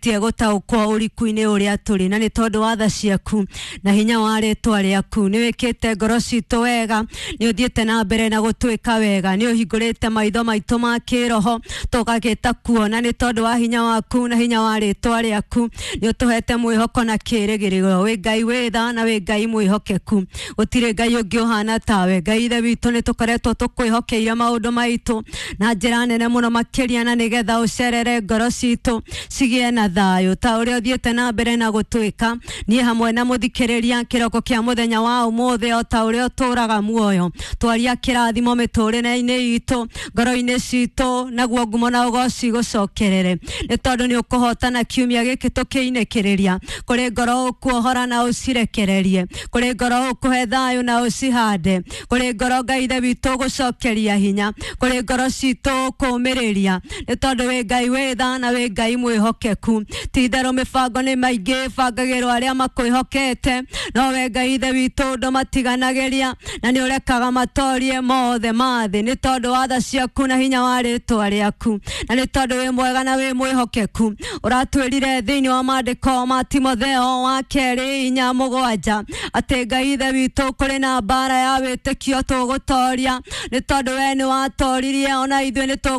Tie gũtaũkwo ũriku-inĩ ũrĩa tũrĩ, na nĩ tondũ wa tha ciaku na hinya wa rĩtwa rĩaku, nĩ wĩkĩte ngoro citũ wega, nĩ ũthiĩte na mbere na gũtwĩka wega, nĩ ũhingũrĩte maitho maitũ ma kĩroho tũgagĩta kuona, nĩ tondũ wa hinya waku na hinya wa rĩtwa rĩaku nĩ ũtũhete mwĩhoko na kĩĩrĩgĩrĩro. Wĩ Ngai wĩ tha na wĩ Ngai mwĩhokeku, gũtirĩ Ngai ũngĩ ũhana tawe. Ngai Ithe witũ, nĩ tũkoretwo tũkwĩhokeire maũndũ maitũ na njĩra nene mũno makĩria, na nĩgetha ũcerere ngoro citũ cigĩe na thayũ ta ũrĩa ũthiĩte na mbere na gũtwĩka niĩ hamwe na mũthikĩrĩria kĩroko kĩa mũthenya wa ũmũthĩ. O ta ũrĩa ũtũraga muoyo, twaria kĩrathimo mĩtũrĩre-inĩ itũ, ngoro-inĩ citũ, naguo ngumo na ũgoci gũcokerere, nĩ tondũ nĩ ũkũhotana kiumia gĩkĩ tũkĩinĩkĩrĩria. Kũrĩ ngoro ũkuohora na ũcirekererie, kũrĩ ngoro ũkũhe thayũ na ũcihande, kũrĩ ngoro, Ngai Ithe witũ, ũgũcokeria hinya, kũrĩ ngoro citũ ũkũmĩrĩria, nĩ tondũ wĩ Ngai wĩ tha na wĩ Ngai mwĩhokeku. Ti itherũ mĩbango nĩ maingĩ ĩbangagĩrwo arĩa makwĩhokete, no we Ngai Ithe witũ ndũmatiganagĩria na nĩ ũrekaga matorie mothe ma thĩ, nĩ tondũ wa tha ciaku na hinya wa rĩtwa rĩaku, na nĩ tondũ wĩ mwega na wĩ mwĩhokeku. Ũratwĩrire thĩinĩ wa maandĩko ma Timotheo wa kerĩ 4:7 atĩ, Ngai Ithe witũ, kũrĩ na mbara ya wĩtĩkio tũgũtoria, nĩ tondũ we nĩ watoririe, ona ithuĩ nĩ tũgũtoria.